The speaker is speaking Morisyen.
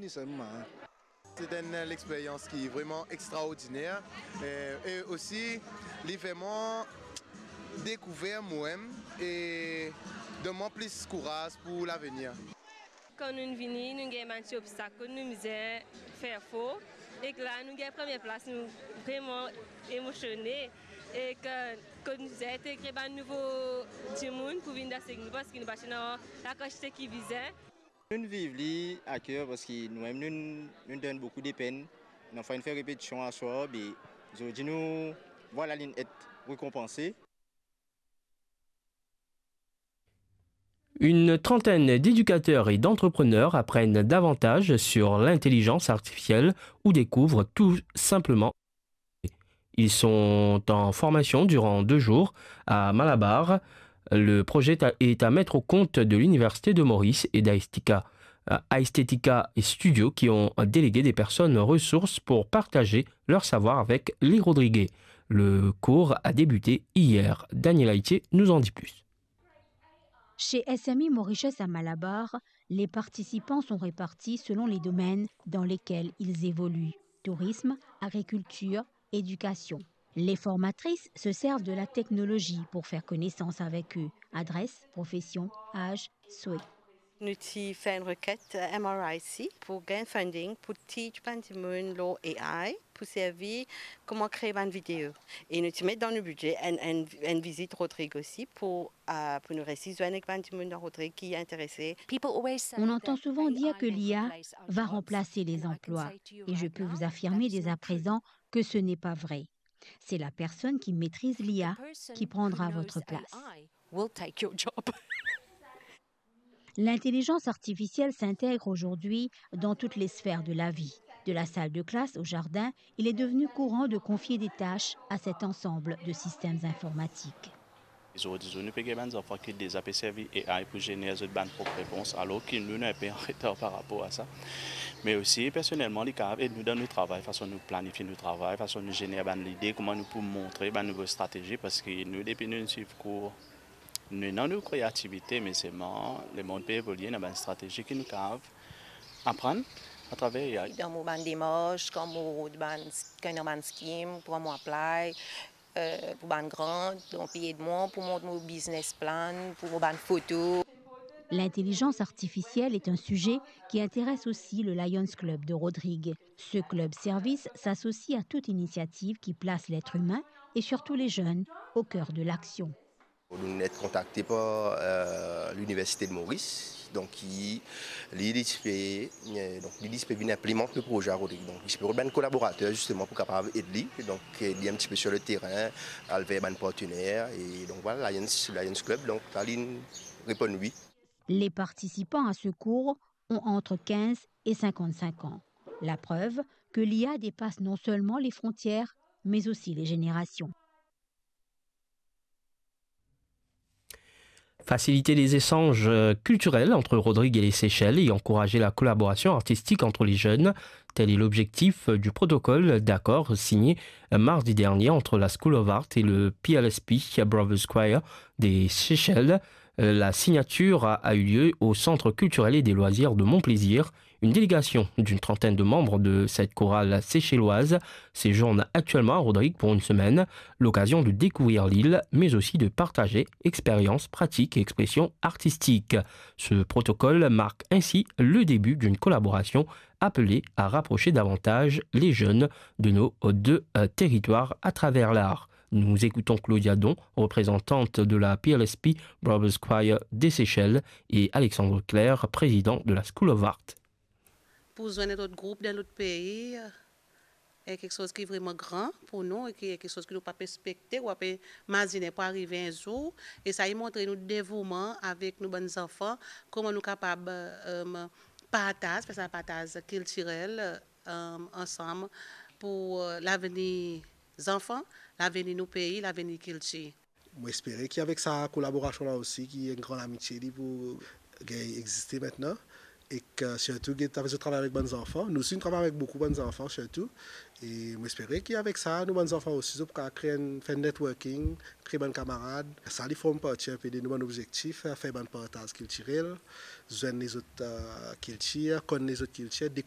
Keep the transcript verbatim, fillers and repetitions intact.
Sèlman, hein. C'est une expérience qui est vraiment extraordinaire. Euh, et aussi, li fer mwa dekouver mwa mem e donn mwa plis kouraz pou lavenir. Kan nou vini, nou gagn bann ti obstak, kot nou mizin fer for, ek la nou gagn premie plas, nou vreman emosione, ek kot nou mizin integre bann nouvo dimoun pou vinn dans ek nou, parski nou pa ti ena lakantite ki bizin. Nou viv li a ker parski nou mem nou, nou donn boukou de penn. Nou finn fer repetision aswar, be zordi nou, vwala, linn et rekonpanse. Une trentaine d'éducateurs et d'entrepreneurs apprennent davantage sur l'intelligence artificielle ou découvrent tout simplement. Ils sont en formation durant deux jours à Malabar. Le projet est à mettre au compte de l'Université de Maurice et d'Aesthetica, euh, Aesthetica Studio qui ont délégué des personnes ressources pour partager leur savoir avec les Rodriguais. Le cours a débuté hier. Daniel Aitier nous en dit plus. Chez S M I Mauritius à Malabar, les participants sont répartis selon les domaines dans lesquels ils évoluent, tourisme, agriculture, éducation. Les formatrices se servent de la technologie pour faire connaissance avec eux. Adresse, profession, âge, souhait. Nou ti fer enn requête, euh, M R I C pou gagn funding pou teach bann dimoun lor A I, pou servi kouma kree bann video. E nou ti met dan nou bidze enn, enn, enn vizit Rodrig osi pou, euh, pou nou resi zwenn ek bann dimoun dan Rodrig ki interese. On entend souvent dire que l'I A va remplacer les emplois, et je peux vous affirmer dès à présent que ce n'est pas vrai. C'est la personne qui maîtrise l'I A qui prendra votre place. L'intelligence artificielle s'intègre aujourd'hui dans toutes les sphères de la vie. De la salle de classe au jardin, il est devenu courant de confier des tâches à cet ensemble de systèmes informatiques. Zordi zour nou pe gagn bann zanfan ki deza pe servi A I pou zener zot bann prop repons, alor ki nou, nou enpe an retar par rapor a sa. Me osi, personelman, li kapav ed nou dan nou travay, fason nou planifie nou travay, fason nou zener bann lide, kouma nou pou montre bann nouvo stratezi, parski nou, depi nou swiv kour, nou ena nou kreativite, me selman lemond pe evolie, ena bann stratezi ki nou kapav aprann atraver A I. Dan mo bann demars, kan mo rod bann, kan ena bann skim, pou mo apply, euh, pou bann grant, donk li ed mwa pou mont mo business plan, pou mo bann foto. L'intelligence artificielle est un sujet qui intéresse aussi le Lions Club de Rodrig. Ce club service s'associe à toute initiative qui place l'être humain et surtout les jeunes au cœur de l'action. Nou inn kontakte par, euh, l'Université de Maurice, donk ki, li, li ti pe, euh, donk li, li ti pe vinn inplimant le proze a Rodrig. Donk li ti pe rod bann kolaborater zisteman pou kapav ed li, donk ed li enn tipe sur le terrain, al ver bann partener, e donk vwala, Lions, Lions Club, donk la linn reponn wi. Les participants à ce cours ont entre quinze et cinquante-cinq ans. La preuve que l'I A dépasse non seulement les frontières, mais aussi les générations. Faciliter les échanges, euh, culturels entre Rodrig et les Seychelles et encourager la collaboration artistique entre les jeunes, tel est l'objectif, euh, du protocole d'accord signé, euh, mardi dernier entre la School of Art et le P L S P Brothers Choir des Seychelles. Euh, la signature a, a eu lieu au Centre culturel et des loisirs de Monplaisir. Une délégation d'une trentaine de membres de cette chorale seychelloise séjourne actuellement à Rodrig pour une semaine, l'occasion de découvrir l'île, mais aussi de partager expériences, pratiques et expressions artistiques. Ce protocole marque ainsi le début d'une collaboration appelée à rapprocher davantage les jeunes de nos deux, euh, territoires à travers l'art. Nous écoutons Claudia Don, représentante de la P L S P Brothers Choir des Seychelles, et Alexandre Claire, président de la School of Art. Pou zwenn enn lot group dan lot pei, e kiksoz ki vreman gran pou nou, e ki, kiksoz ki nou pa pe ekspekte, ou pa pe imazine pou arive enn zour. E sa, li montre nou devouman avek nou bann zanfan, kouma nou kapab, euh, partaz, fer sa partaz kiltirel, euh, ansam pou, euh, lavenir zanfan, lavenir nou pei, lavenir kiltir. Mo espere ki avek sa kolaborasion la osi, ki enn gran lamitie li pou gagn egziste aster, ek, euh, sirtou get avek zot travay avek bann zanfan. Nou osi nou travay avek boukou bann zanfan sirtou. E mo espere ki avek sa, nou bann zanfan osi, zot pou kapav kree enn, fer networking, kree bann kamarad. Sa li form parti enpe de nou bann obzektif, fer bann partaz kiltirel, zwenn lezot, euh, kiltir, konn lezot kiltir,